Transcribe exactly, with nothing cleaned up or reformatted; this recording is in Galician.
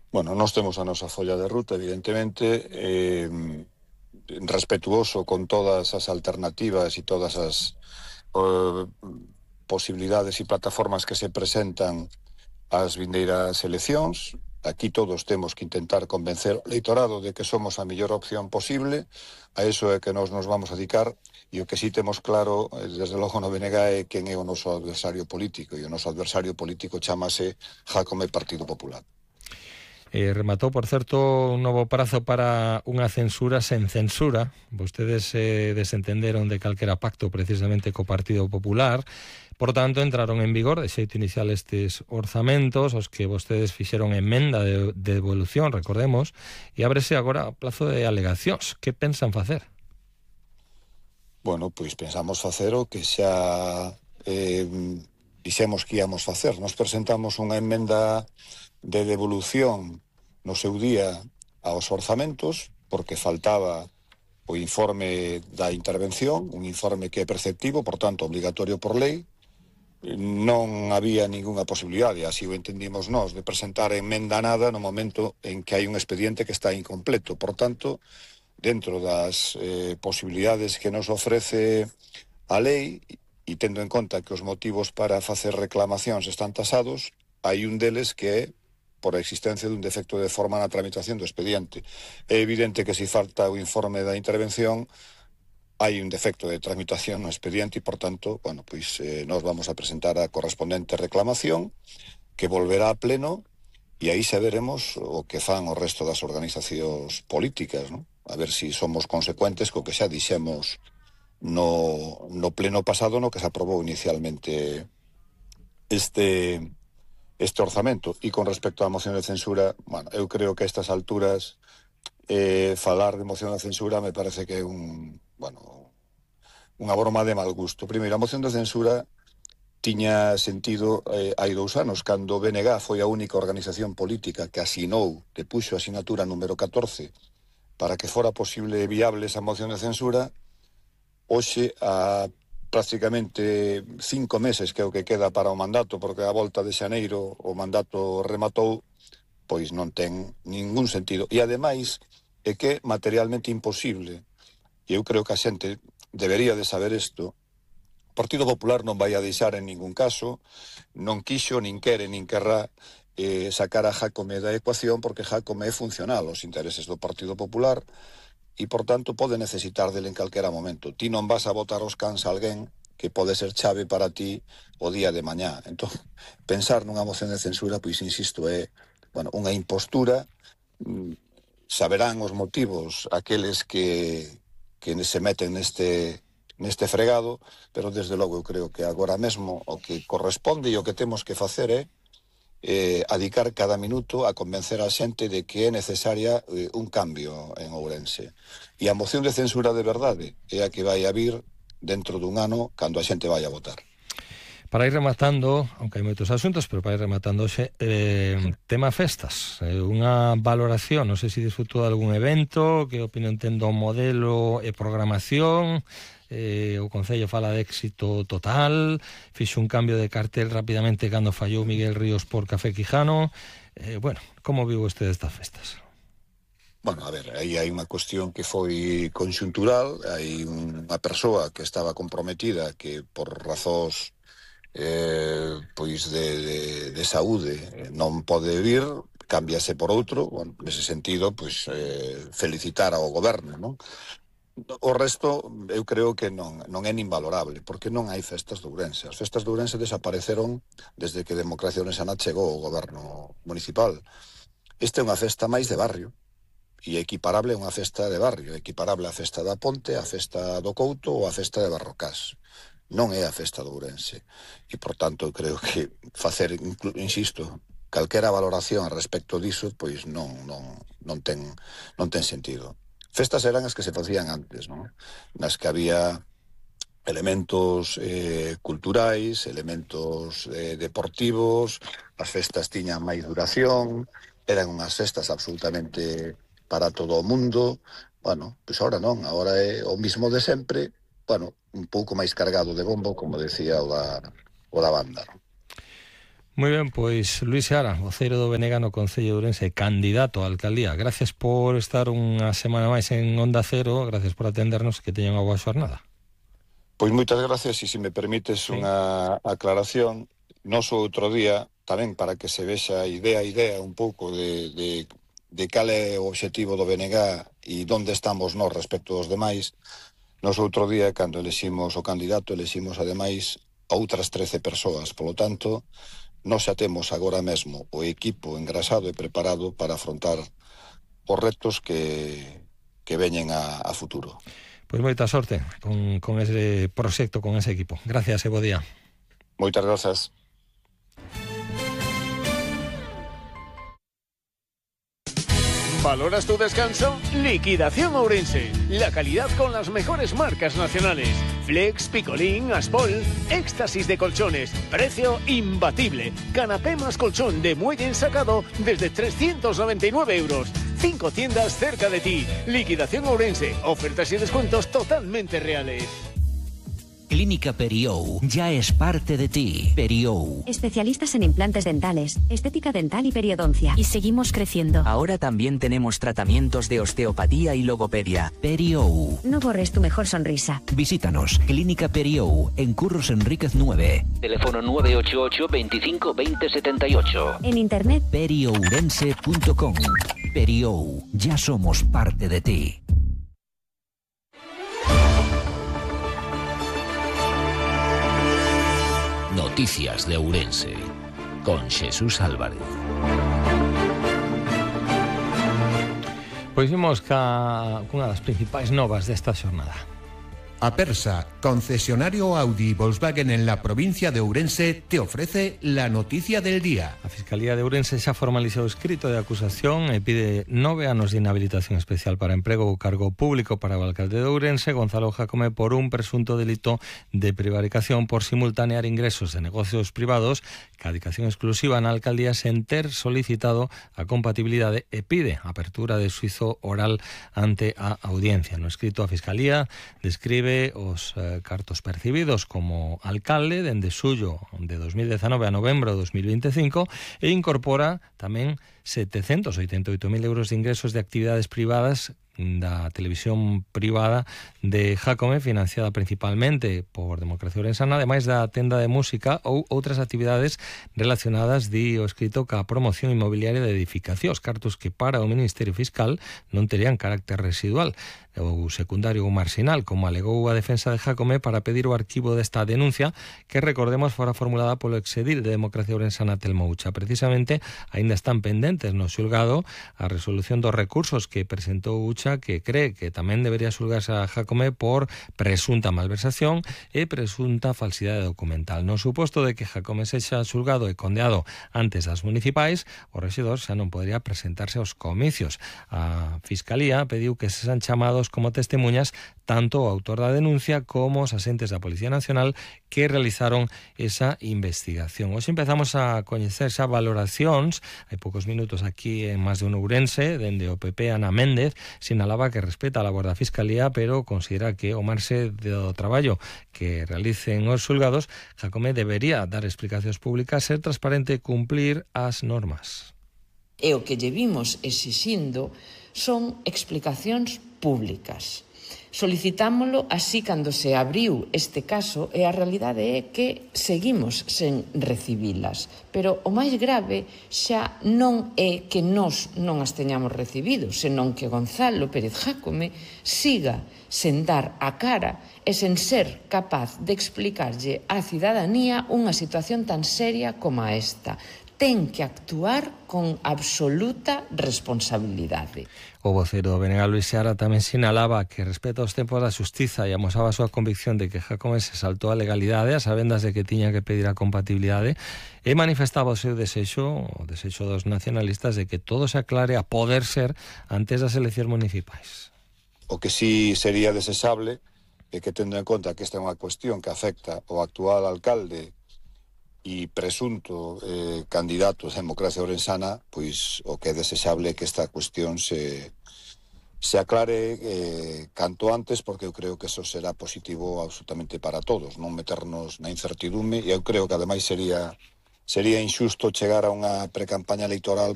Bueno, nós temos a nosa folla de ruta, evidentemente, eh, respetuoso con todas as alternativas e todas as eh, posibilidades e plataformas que se presentan ás vindeiras eleccións. Aquí todos temos que intentar convencer o eleitorado de que somos a mellor opción posible. A iso é que nós nos vamos a dedicar, e o que sí temos claro, eh, desde logo no B N G, é quen é o noso adversario político, e o noso adversario político chamase Jácome Partido Popular. Eh, rematou, por certo, un novo prazo para unha censura sen censura. Vostedes se eh, desentenderon de calquera pacto precisamente co Partido Popular. Por tanto, entraron en vigor de xeito inicial estes orzamentos, os que vostedes fixeron emenda de, de devolución, recordemos, e ábrese agora o plazo de alegacións. Que pensan facer? Bueno, pois pensamos facer o que xa eh, dixemos que íamos facer. Nos presentamos unha emenda de devolución no seu día aos orzamentos, porque faltaba o informe da intervención, un informe que é preceptivo, por tanto, obligatorio por lei. Non había ningunha posibilidade, así o entendimos nós, de presentar emenda nada no momento en que hai un expediente que está incompleto. Por tanto, dentro das eh, posibilidades que nos ofrece a lei, e tendo en conta que os motivos para facer reclamacións están tasados, hai un deles que é por a existencia dun defecto de forma na tramitación do expediente. É evidente que se falta o informe da intervención, hai un defecto de tramitación no expediente e, por tanto, bueno, pois eh, nos vamos a presentar a correspondente reclamación que volverá a pleno, e aí xa veremos o que fan o resto das organizacións políticas, ¿no? A ver se si somos consecuentes co que xa dixemos no, no pleno pasado, no que se aprobou inicialmente este este orzamento. E con respecto á moción de censura, bueno, eu creo que a estas alturas eh, falar de moción de censura me parece que é un, bueno, unha broma de mal gusto. Primeiro, a moción de censura tiña sentido eh, hai dous anos, cando o B N G foi a única organización política que asinou, que puxo a asinatura número catorce para que fora posible e viable esa moción de censura. Hoxe, a prácticamente cinco meses que é o que queda para o mandato, porque a volta de xaneiro o mandato rematou, pois non ten ningún sentido. E ademais é que é materialmente imposible, e eu creo que a xente debería de saber isto. O Partido Popular non vai a deixar en ningún caso, non quixo, nin quere, nin querrá eh, sacar a Jácome da ecuación, porque Jácome é funcional aos intereses do Partido Popular, e, por tanto, pode necesitar dele en calquera momento. Ti non vas a botar os cans a alguén que pode ser chave para ti o día de mañá. Entón, pensar nunha moción de censura, pois, insisto, é, bueno, unha impostura. Saberán os motivos aqueles que, que se meten neste, neste fregado, pero, desde logo, eu creo que agora mesmo o que corresponde e o que temos que facer é Eh, a dedicar cada minuto a convencer a xente de que é necesaria eh, un cambio en Ourense. E a moción de censura de verdade é a que vai a vir dentro dun ano, cando a xente vai a votar. Para ir rematando, aunque hai moitos asuntos, pero para ir rematando hoxe, eh, tema festas, eh, unha valoración, non sei se disfrutou de algún evento, que opinión ten do modelo e programación. Eh, o Concello fala de éxito total, fixo un cambio de cartel rapidamente cando fallou Miguel Ríos por Café Quijano. Eh, bueno, como viu usted estas festas? Bueno, a ver, aí hai unha cuestión que foi conxuntural, hai unha persoa que estaba comprometida que por razóns eh, pois de, de, de saúde non pode vir, cámbiase por outro. Bueno, nese sentido, pois eh, felicitar ao goberno, non? O resto, eu creo que non, non é nin valorable, porque non hai festas de Ourense. As festas de Ourense desapareceron desde que Democracia Ourensana chegou ao goberno municipal. Esta é unha festa máis de barrio, e equiparable a unha festa de barrio, equiparable á festa da Ponte, á festa do Couto ou á festa de Barrocás. Non é a festa de Ourense. E, por tanto, creo que facer, insisto, calquera valoración a respecto diso, pois non, non, non, ten, non ten sentido. Festas eran as que se facían antes, non? Nas que había elementos eh, culturais, elementos eh, deportivos, as festas tiñan máis duración, eran unhas festas absolutamente para todo o mundo. Bueno, pois agora non, agora é o mismo de sempre, bueno, un pouco máis cargado de bombo, como decía o da, o da banda, non? Moi ben, pois Luís Seara, voceiro do B N G no Concello de Ourense, candidato á alcaldía. Gracias por estar unha semana máis en Onda Cero, gracias por atendernos, que teñan unha boa xornada. Pois moitas gracias, e se me permites sí. unha aclaración, nos outro día, tamén para que se vexa idea a idea un pouco de, de, de cal é o obxectivo do B N G e onde estamos nós respecto aos demais, nos outro día, cando eleximos o candidato, eleximos ademais outras trece persoas, polo tanto, nós xa temos agora mesmo o equipo engrasado e preparado para afrontar os retos que, que veñen a, a futuro. Pois moita sorte con, con ese proxecto, con ese equipo. Gracias e bo día. Moitas grazas. ¿Valoras tu descanso? Liquidación Ourense. La calidad con las mejores marcas nacionales. Flex, Picolín, Aspol. Éxtasis de colchones. Precio imbatible. Canapé más colchón de muelle ensacado desde trescientos noventa y nueve euros. Cinco tiendas cerca de ti. Liquidación Ourense. Ofertas y descuentos totalmente reales. Clínica Periou ya es parte de ti. Periou. Especialistas en implantes dentales, estética dental y periodoncia. Y seguimos creciendo. Ahora también tenemos tratamientos de osteopatía y logopedia. Periou. No borres tu mejor sonrisa. Visítanos. Clínica Periou, en Curros Enríquez nueve. Teléfono nueve ocho ocho, veinticinco, veinte, setenta y ocho. En internet periourense punto com. Periou. Ya somos parte de ti. Noticias de Ourense, con Xesús Álvarez. Pois imos ca cunha das principais novas desta xornada. Apersa, concesionario Audi y Volkswagen en la provincia de Ourense, te ofrece la noticia del día. A Fiscalía de Ourense xa formalizou o escrito de acusación e pide nove anos de inhabilitación especial para emprego ou cargo público para o alcalde de Ourense, Gonzalo Jácome, por un presunto delito de prevaricación por simultanear ingresos de negocios privados ca dedicación exclusiva na alcaldía sen ter solicitado a compatibilidade e pide apertura de xuizo oral ante a audiencia. No escrito, a Fiscalía describe os eh, cartos percibidos como alcalde dende xullo de dos mil dezanove a novembro de dos mil veinticinco e incorpora tamén setecentos oitenta e oito mil euros de ingresos de actividades privadas da televisión privada de Jácome, financiada principalmente por Democracia Ourensana, ademais da tenda de música ou outras actividades relacionadas, di o escrito, ca promoción inmobiliaria de edificacións, cartos que para o Ministerio Fiscal non terían carácter residual ou secundario ou marxinal, como alegou a defensa de Jácome para pedir o arquivo desta denuncia, que, recordemos, fora formulada polo exedil de Democracia Ourensana, Telmo Ucha. Precisamente, aínda están pendentes no xulgado a resolución dos recursos que presentou Ucha, que cree que tamén debería xulgarse a Jácome por presunta malversación e presunta falsidade documental. No suposto de que Jácome sexa xulgado e condeado antes das municipais, o rexedor xa non podría presentarse aos comicios. A Fiscalía pediu que se sean chamados como testemunhas tanto o autor da denuncia como os asentes da Policía Nacional que realizaron esa investigación. Hoxe empezamos a coñecer xa valoracións. Hai poucos minutos aquí en Más de un Ourense, dende o P P, Ana Méndez sinalaba que respeta a labor da Fiscalía, pero considera que o marxe do traballo que realicen os xulgados, Jácome debería dar explicacións públicas, ser transparente e cumplir as normas. E o que lle vimos exixindo son explicacións públicas. Solicitámolo así cando se abriu este caso e a realidade é que seguimos sen recibilas. Pero o máis grave xa non é que nós non as teñamos recibido, senón que Gonzalo Pérez Jácome siga sen dar a cara e sen ser capaz de explicarlle á cidadanía unha situación tan seria como esta. Ten que actuar con absoluta responsabilidade. O vocero do B N G, Luís Seara, tamén sinalaba que respeta os tempos da xustiza e amosaba a súa convicción de que Jácome se saltou a legalidade a sabendas de que tiña que pedir a compatibilidade e manifestaba o seu desexo, o desexo dos nacionalistas, de que todo se aclare a poder ser antes das eleccións municipais. O que sí sería desexable é que, tendo en conta que esta é unha cuestión que afecta ao actual alcalde e presunto eh, candidato de Democracia Ourensana, pois o que é desexable é que esta cuestión se, se aclare eh, canto antes, porque eu creo que eso será positivo absolutamente para todos, non meternos na incertidume, e eu creo que ademais sería sería injusto chegar a unha precampaña electoral